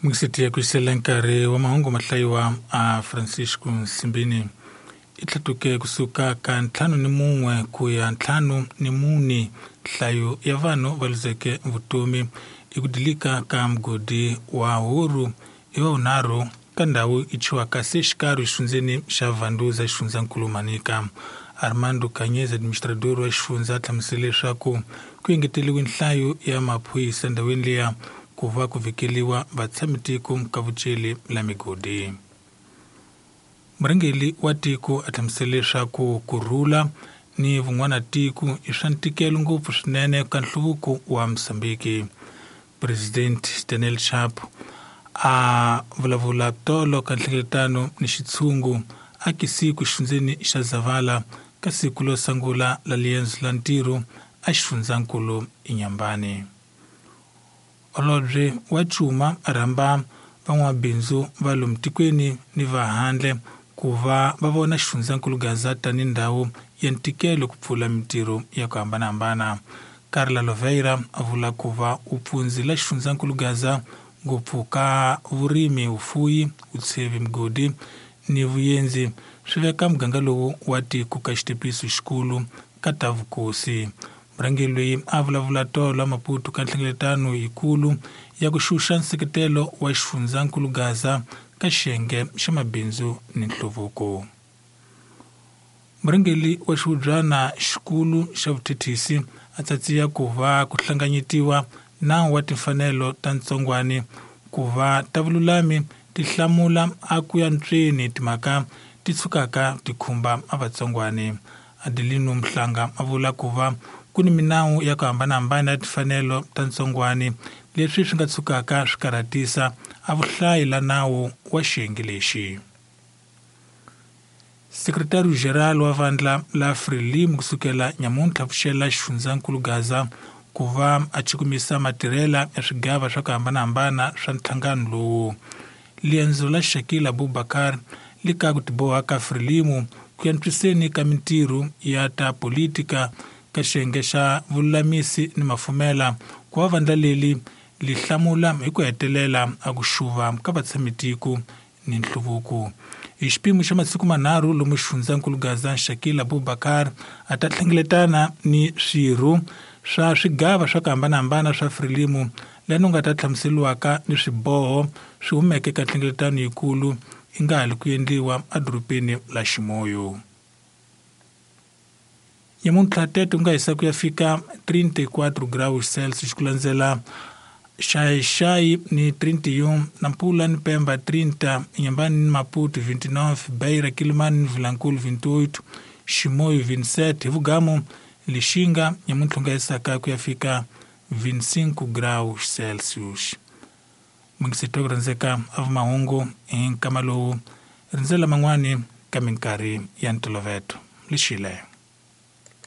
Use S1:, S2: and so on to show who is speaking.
S1: Mungiseti ya kwisela nkarhi wa mahungu mahlayiwa a Francisco Nsimbini i tlhatuke kusuka ka 51 ku ya 54 nhlayo ya vanhu va luzeke vutomi i ku dilika ka mugodi wa Huru i wa vunharhu ka ndhawu i chiwaka se xikarhi xifundzeni xa Vanduza xifundzankulu Manica. Armando Kanyez, administrador wa xifundza, a hlamusele leswaku ku engeteriwe nhlayo ya maphorisa ndhawini liya ku va ku vhikeliwa vatshamitiko ka vuceli la migodi. Murhangeri wa tiko a hlamusele leswaku ku rhula ni vun'wana tiko i swa ntikelo ngopfu swinene ka nhluvuko wa Mozambique. President Daniel Chapo a vulavula tolo ka nhlengeletano ni xitshungu a kisiku xifundzeni xa Zavala ka siku lo sungula la liendzo la ntirho a xifundzankulu Inhambane. Holobye wa Cuma a rhamba van'wamabindzu va lomu tikweni ni va handle ku va va vona xifundzankulu Gaza tanihi ndhawu ya ntikelo ku pfula mintirho ya ku hambanahambana. Carla Loveira a vula ku va u pfundzila xifundzankulu Gaza ngopfu ka vurimi, vufuyi, vutshevi, migodi ni vuyenzi swi veka muganga lowu wa tiko ka xitepiso xikulu ka ta vukosi. Murhangeri loyi a vulavula tolo Maputo ka nhlengeletano yikulu ya ku xuxa nseketelo wa xifundzankulu Gaza ka xiyenge xa mabindzu ni nhluvuko. Murhangeri wa xihubyana xikulu xa vuthethisi a tsatsiya ku va ku hlanganyetiwa nawu wa timfanelo ta ntsongwani ku va ta vululami ti hlamula a ku ya ntsweni timhaka ti tshukaka ti khumba a vatsongwani. Adelino Mhlanga a vula ku va ku ni minawu ya ku hambanahambana ya timfanelo ta ntsongwani leswi swi nga tshukaka swi karhatisa a vuhlayi la nawu wa xiyenge lexi. Sekretariyo General wa vandla la Frelimo kusukela nyamuntlha pfuxela xifundzankulu Gaza ku va a chukumisa matirhela ya swigava swa ku hambanahambana swa nhlangano lowu. Liendzo la Shakil Abubakar li ka ku tiboha ka Frelimo ku antswiseni ka mintirho ya ta politika ka xiyenge xa vululamisi ni mafumela ku va vandla leri li hlamula hi ku hetelela a ku xuva ka vatshamitiko ni nhluvuko. Hi xipimo xa masiku manharhu lomu xifundzankulu Gaza Shakil Abubakar a ta hlengeletana ni swirho swa swigava swa ku hambanahambana swa Frelimo lani u nga ta hlamuseriwaka ni swiboho swi humeke ka nhlengeletano yikulu yi nga ha li ku endliwa edorobeni la Ximoyo. Nyamuntlha tete u nga hisa ku ya fika 34 graus Celsius ku landzela Xai-Xai ni 31, Nampula ni Pemba 30, Inhambane ni Maputo 29, Beira, Quelimane ni Vilankulo 28, Ximoyo 27, hi vugamu Lixinga nyamuntlha u nga hisaka ku ya fika 25 graus Celsius. Mungiseti wa ku rhandzeka a vumahungu hi nkama lowu rindzela man'wani ka minkarhi ya ntolovelo. Lexile.